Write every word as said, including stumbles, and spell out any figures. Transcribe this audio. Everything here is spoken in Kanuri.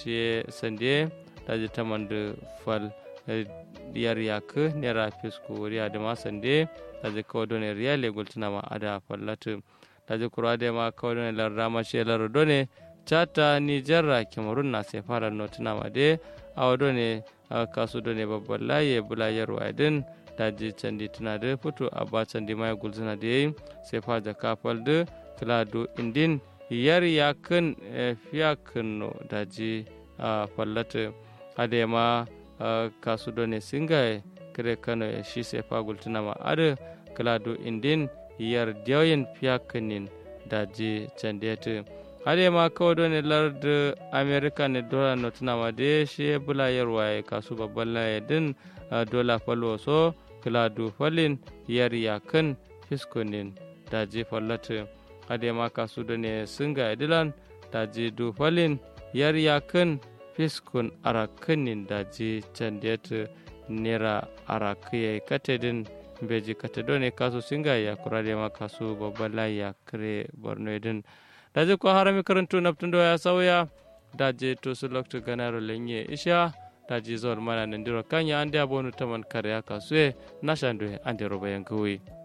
shiye sandiye daji tamandu fal yar yakkǝ nera fisku wuri adǝma sandiye daji kawo done riyale gultǝnama adǝa fallatǝ. Daji kuru adǝ yema kawo done lardǝ dama shiye lardu done chata nijerra kemarun na sefa lar notǝnama dǝ ye awo done kasu done babballaye bǝla yarwaye dǝn daji candi tǝnadǝ futu abba candi maye gulzǝnadǝ ye sefa jakka faldǝ kǝla du indin yar yakkǝn fiyakkǝnno daji fallatǝ. Adǝ yema kasu done singaye kǝre kanoye shi sefa gultǝnama adǝ kǝla du indin yar dewin fiyakkǝnin daji candetǝ. Adǝ yema kawo done lardǝ amerika ne dola notǝnama dǝ ye shiye bǝla yarwaye kasu babballaye dǝn dola falwo so kǝla du falin yar yakkǝn fiskunin daji fallatǝ. Adǝ yema kasu done singaye dǝlan daji du falin yar yakkǝn fiskun arakkǝnin daji candetǝ. Nera arakkǝ yayi kate dǝn mbeji kate done kasu singaye yakkuro adǝ yema kasu babballaye yakkǝre bornoye dǝn. Daji ko harami kǝrǝntu naptǝ ndo ya sauya daji tusu loktu ganaro lenye isha daji zol mana nandiro kanya andeya bonu taman kareya kasuye nashanduye andero bayan gǝwuyi.